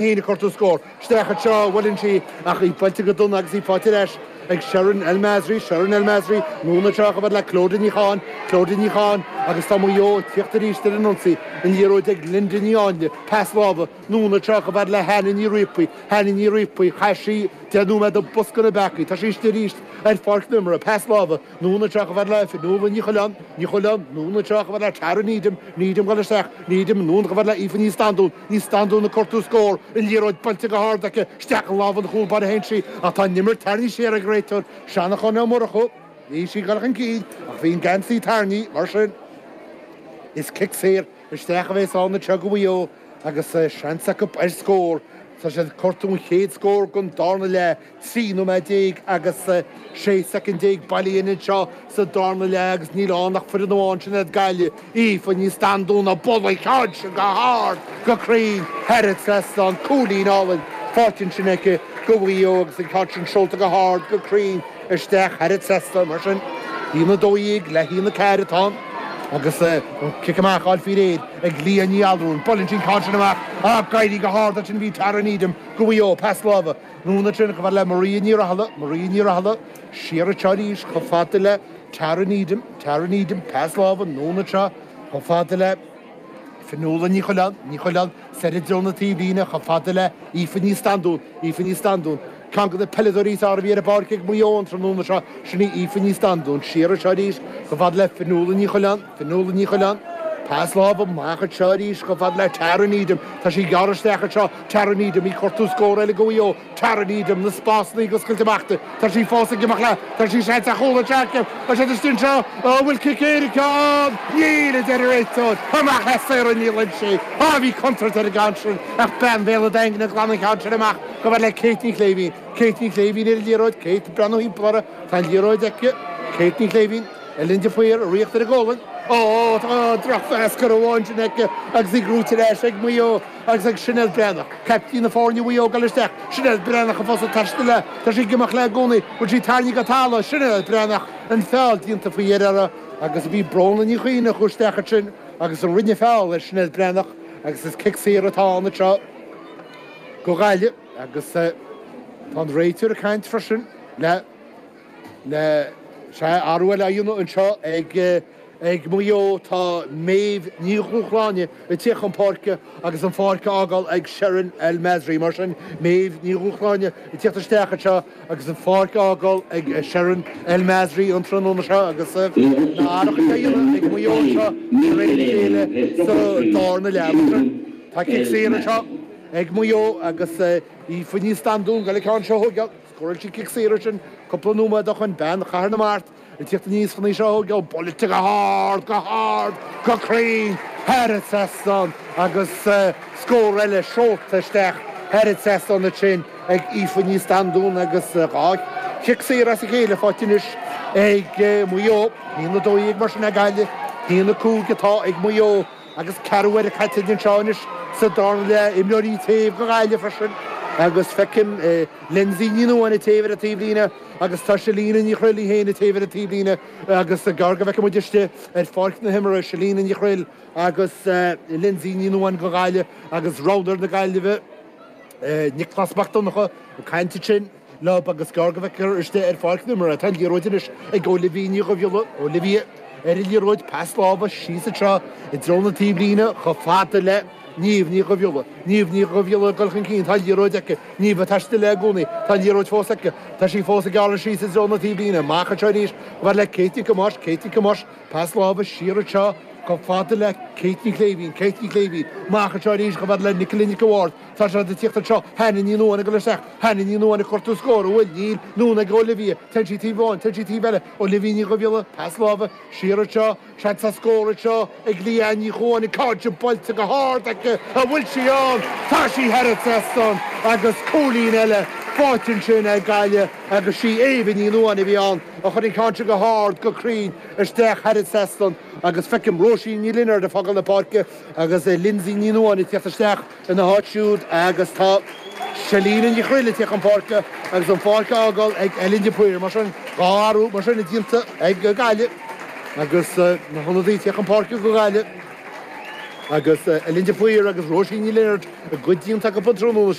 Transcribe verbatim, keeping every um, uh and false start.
Féin ag cuartú scór. Isteach anseo, buaileann sí ach í buailte go dona agus í faighte ar ais ag Sharon El Masri, Sharon El Masri, anonn anseo chomh fada le Clodagh Ní Cháin, Clodagh Ní Cháin agus tá Maigh Eo ag tíocht arís ar an ionsaí, an liathróid ag Linda Ní Áinle, pas láimhe, anonn anseo chomh fada le Hannah Ní Riapaí, Hannah Ní Riapaí, chaith sí deich nóiméad i bosca na bpeacaí, tá sí istigh arís ar pháirc na himeartha, pas láimhe, anonn anseo chomh fada le Fionnuala Ní Choileáin, Ní Choileáin, anonn anseo chomh fada le Tara Needham, Needham ag dul isteach, Needham, anonn chomh fada le Aoife Ní Standún, Ní Standún ag cuartú scór, an liathróid buailte go hard aici, isteach i lámha an chúl báire a théann sí, ach tá an imirt tarraingthe siar ag an réiteoir, Seanchán Ó Murchú. Bhí sí ag dul chun cinn ach bhí an geansaí tarraingthe, mar sin is cic saor isteach a bheas ann anseo do Mhaigh Eo agus seans acu ar scór. Tá siad ag cuartú an chéad scór den darna leath, trí nóiméad déag agus sé soicind déag bailithe anseo sa darna leath agus níl ann ach foireann amháin, sin iad Gaillimh. Aoife Ní Standún ag bualadh an ceann sin go hard, go cruinn, thar an trasnán, cúilín álainn faighte ansin aici do Mhaigh Eo agus an ceann sin seolta go hard, go cruinn isteach thar an trasnán. Mar sin, a haon a dó dhéag le haon a ceathair atá ann agus an cic amach á fháil faoi réir ag Leah Ní Allrúin. Buaileann sí an ceann sin amach ach ag éirí go hard ansin bhí Tara Needham do Mhaigh Eo. Pas láimhe anonn ansin chomh fada le Maria Ní Rathaille, Maria Ní Rathaille siar anseo arís chomh fada le Tara Needham, Tara Needham, pas láimhe anonn anseo chomh fada le Fionnuala Ní Choileáin, Ní Choileáin, soir i dtreo na taobhlíne chomh fada le Aoife Ní Standún, Aoife Ní Standún, ceann de na peileadóirí is fearr a bhí ar an bpáirc ag Maigh Eo an tráthnóna seo, sin í Aoife Ní Standún, siar anseo arís chomh fada le Fionnuala Ní Choileáin, Fionnuala Ní Choileáin, pas láimhe amach anseo arís chomh fada le Tara Needham, tá sí ag gearradh isteach anseo, Tara Needham, í ag cuartú scór eile do Mhaigh Eo, Tara Needham, na spásanna ag oscailt amach di, tá sí fós ag imeacht léi, tá sí seans ar chúl anseo aici, tá siad istigh anseo, an bhfuil cic éirice ann? Níl, a deir an réiteoir, amach le Sarah Ní Loinsigh, á bhí contúirt ar an gceann sin ach bean Bhéal an Daingin ag glanadh an ceann sin amach chomh fada le Kate Ní Chléibhín, Kate Ní Chléibhín ar an liathróid, Kate ag breathnú thimpeall uirthi, tá an liathróid aici, Kate Ní Chléibhín, Ellen de Paor, ag ritheacht ar an gcomhlainn, Ó, tá drochphas curtha ansin aici agus í gnóite ar ais ag Maigh Eo agus ag Sinéad Breathnach, caiptín na foirne Mhaigh Eo ag dul isteach. Sinéad Breathnach fós ag taisteal léi. Tá sí ag imeacht léi i gcónaí. Bhfuil sí tarraingthe go talamh? Sinéad Breathnach, an feall déanta faoi dheireadh uirthi agus bhí Bróna Ní Chuinn a chuaigh isteach ansin agus a rinne feall ar Sinéad Breathnach agus is cic saor atá ann anseo do Ghaillimh agus tá an réiteoir ag caint freisin le Le sea, athrú eile á dhéanamh anseo ag ag Maigh Eo, tá Méabh Ní Dhúshláine ag tíocht chun páirce agus an pháirc á fhágáil ag Sharon El Masri. Mar sin, Méabh Ní Dhúshláine ag tíocht isteach anseo agus an pháirc á fhágáil ag Sharon El Masri an tráthnóna seo agus na hathruithe á dhéanamh ag Maigh Eo anseo de réir a chéile sa darna leath. Mar sin, tá cic saor anseo ag Maigh Eo agus Aoife Ní Standún ag goil an ceann seo a thógáil. Scóráil sí cic saor ansin cúpla nóiméad ó shoin, bean Chathair na Mart ag tíocht aníos chun í seo a thógáil, buailte go hard, go hard, go cruinn thar an trasnán agus scór eile seolta isteach thar an trasnán ansin ag Aoife Ní Standún agus dhá chic saor as a chéile faighte anois ag Maigh Eo. A haon a dó dhéag mar sin ag Gaillimh, a haon a cúig atá ag Maigh Eo. Agus ceathrú uaire caite anseo anois sa darna leath, imreoirí taobh do Ghaillimh freisin agus feicim Lindsay Ní Nuadháin ag téamh ar an taobhlíne agus tá Selina Ní Chroill í féin ag téamh ar an taobhlíne agus gearr go bhfeicfidh muid istigh ar pháirc na himeartha Selina Ní Chroill agus Lindsay Ní Nuadháin do Ghaillimh agus roghnóir na Gaillimhe Nioclás Mac Donncha ag caint ansin. leo agus gearr go bhfeicfear istigh ar pháirc na himeartha. Tá an liathróid anois ag Olivia Ní Dhubhghiolla. Olivia ar an liathróid, pas láimhe síos anseo i dtreo na taobhlíne chomh fada le Niamh Ní Dhubhghiolla. Niamh Ní Dhubhghiolla ag dul chun cinn, tá an liathróid aici. Niamh ag taisteal léi i gcónaí. Tá an liathróid fós aici. Tá sí fós ag gearradh síos i dtreo na taobhlíne. Amach anseo arís chomh fada le Kate Nic Thomáis. Kate Nic Thomáis, pas láimhe siar anseo chomh fada le Kate Ní Chléibhín. Kate Ní Chléibhín, amach anseo arís chomh fada le Nicola Nic an Bhaird. Tá siad ag tíocht anseo. Hannah Ní Nuadháin ag dul isteach. Hannah Ní Nuadháin ag cuartú scór. An bhfuil? Níl. Anonn ag Olivia. Téann sí taobh amháin. Téann sí taobh eile. Olivia Ní Dhubhghiolla. Pas láimhe. Siar anseo. Seans ar scór anseo ag Leanne Ní Chuáin. An ceann sin buailte go hard aici. An bhfuil sí ann? Tá sí thar an trasnán agus cúilín eile faighte ansin ag Gaillimh agus sí Éabha Ní Nuadháin a bhí ann a chuir an ceann sin go hard, go cruinn isteach thar an trasnán agus feicim Róisín Ní Lionáird ag fágáil na páirce agus Lindsay Ní Nuadháin ag tíocht isteach. ina háit siúd agus tá Selina Ní Chroill ag tíocht chun páirce agus an pháirc á fhágáil ag Ellen de Paor. Mar sin, dhá athrú mar sin déanta ag Gaillimh agus na hionadaithe ag tíocht chun páirce do Ghaillimh. Agus Ellen de Paor agus Róisín Ní Lionáird a gcuid déanta acu an tráthnóna.